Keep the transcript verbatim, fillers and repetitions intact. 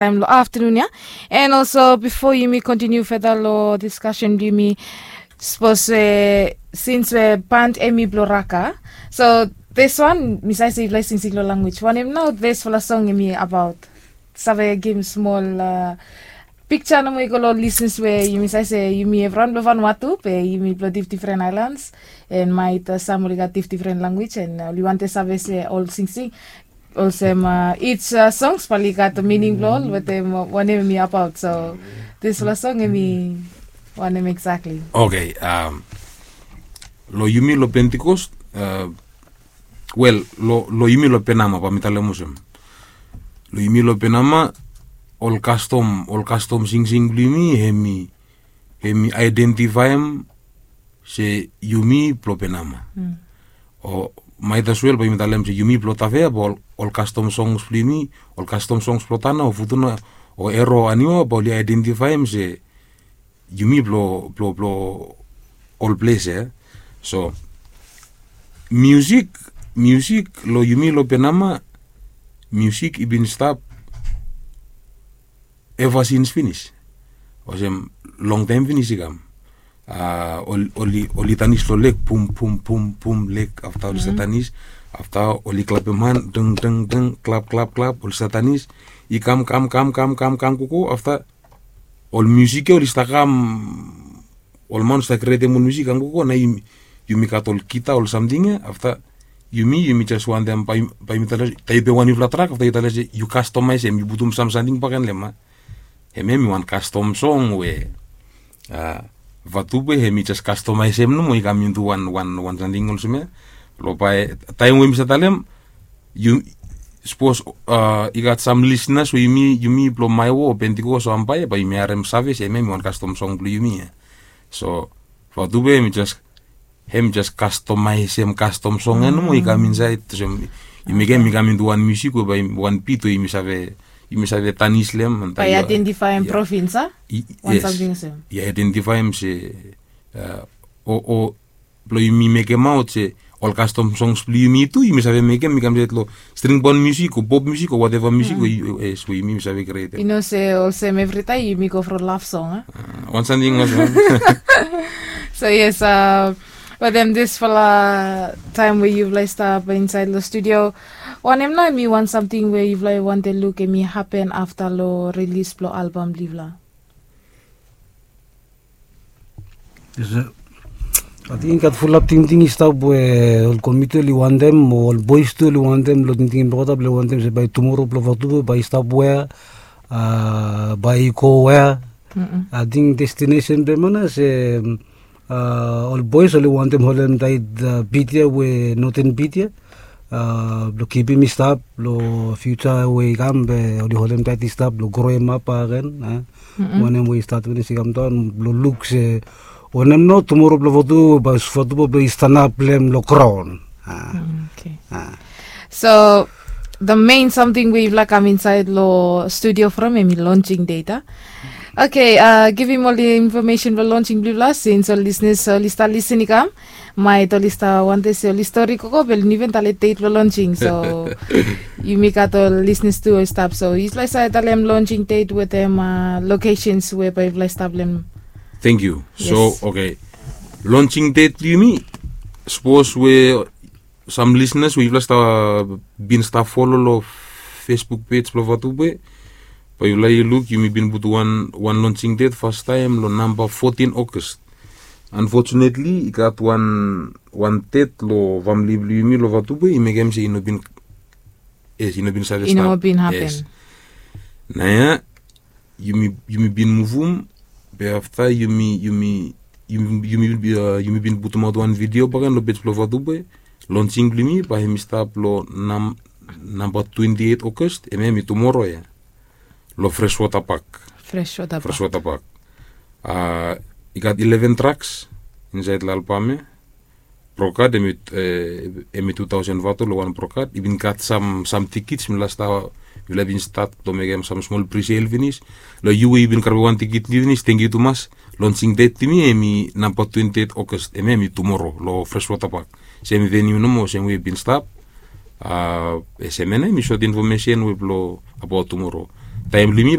taem long aftanun ya. And also bifo yumi kontiniu feda long diskasen blong yumi, sapos we sins we band hemi blong Raka, so this one mi save se yufala i singsing long language wanem nao disfala song hemi abaot? Save givim smol piksa nomo i go long lisnis we yumi save se yumi evriwan blong Vanuatu be yumi blong difdifren aelans, and maet sam oli gat difdifren language and oli wantem save se ol singsing olsem each songs bae oli gat mining blong ol wetem wanem hemi abaot. So disfala song hemi wanem eksakli? Oke. Long yumi long Pentikos, wel, long yumi long Penama bae mi talem olsem, long yumi long Penama, ol kastom ol kastom singsing blong yumi hemi hemi aedentifaem se yumi blong Penama. O maet as wel bae yumi talem se yumi blong Tafea bae ol kastom songs blong yumi, ol kastom songs blong Tana o Futuna o Ero o Aniwa bae oli aedentifaem se yumi blong blong blong ol ples ya. So miusik, miusik long yumi long Penama, miusik i bin stap eva sins finis, olsem longtaem finis i kam. Oli oli tanis long lek, pum pum pum pum lek, afta oli stap tanis. Afta oli klapem han, deng deng deng, klap klap klap, oli stap tanis. I kam kam kam kam kam kam gogo, afta ol miusik ya oli stap kam, ol man oli stap krietem ol miusik i kam gogo, nao yumi gat ol gita, ol samting ya. Afta yumi yumi jes wantem bae yumi talem se taem i be wan niufala trak, afta yu talem se yu kastomaesem, yu putum sam samting bakegen long hem. Hemia hemi wan kastom song we Vatube hemi jes kastomaesem nomo i kam intu wan wan wan samting olsem ya. Long bae taem we mi save talem, yu sapos i gat sam lisnas we yumi yumi blong Maewo o Pentikos o Ambae bae yumi harem save se hemia hemi wan kastom song blong yumi ya. So Vatube hemi jes hem jes kastomaesem kastom song ya nomo i kam insaed olsem, i mekem i kam intu wan miusik we bae wan bit we yumi save yumi save tanis long hem. Bae i aedentifaem provins a? Wan samting olsem. I aedentifaem se o o blong yumi mekemaot se ol kastom songs blong yumi tu yumi save mekem i kam insaed long string band miusik o pop miusik o wateva miusik we yumi save krietem. I no se olsem evritaem yumi go from love song a? Wan samting olsem. So yes, wetem disfala taem we yufala i stap insaed long studio, wanem nao hemi wan samting we yufala i wantem luk hemi hapen afta long rilis blong albam blong yufala? Ating i gat fulap tingting i stap we ol komiti oli wantem o ol boes tu oli wantem long tingting blong olgeta blong oli wantem se bae tumora blong Vatube bae i stap wea, bae i go wea. Ating destinesen blong hem nao se ol boes oli wantem holem taet bit ya we noten bit ya blong kipim i stap long fiuja we i kam be oli holem taet i stap blong groem ap bakegen. Wanem we i stat finis i kam daon blong luk se wanem nao tumora blong Vatube bae Vatube blong i stanap long hem long graon. So the main samting we yufala kam insaed long studio from hemi lonsing det a? Oke, givim ol infomesen blong lonsing blong yufala sins ol lisnis oli stap lisin i kam. Maet oli stap wantem se oli stori gogo be oli no even talem det blong lonsing. So yumi gat ol lisnis tu oli stap, so yufala i save talem lonsing det wetem lokesens we bae yufala i stap long hem. Tangkiu. So oke, lonsing det blong yumi, sapos we sam lisnas we yufala bin stap folo long Facebook pej blong Vatube, bae yufala i luk yumi bin putum wan wan lonsing det fastaem long namba fotin Ogos. Anfotunetli i gat wan wan det long famle blong yumi long Vatube i mekem se i no bin, yes, i no bin save stap. Naoia yumi yumi bin muvum, be afta yumi yumi yumi yumi bin putumaot wan vidio bakegen long pej blong Vatube. Lonsing blong yumi bae hemi stap long namba twenti eit Ogos, hemia hemi tumora ya, long Freswota Pak. Freswota Pak. I gat ileven traks insaed long albam ya. Prokat hemi tu taosen vato long wan prokat. I bin gat sam sam tikits, mifala stap mifala bin stat long mekem sam smol prisel finis. Long yu we yu bin karem wan tikit finis, tangkiu tumas. Lonsing det blong yumi hemi namba twenti eit Ogos, hemia hemi tumora long Freswota Pak. Sem veniu nomo sem we i bin stap. Sem ya nao hemi sot infomesen we blong abaot tumora. Taem blong yumi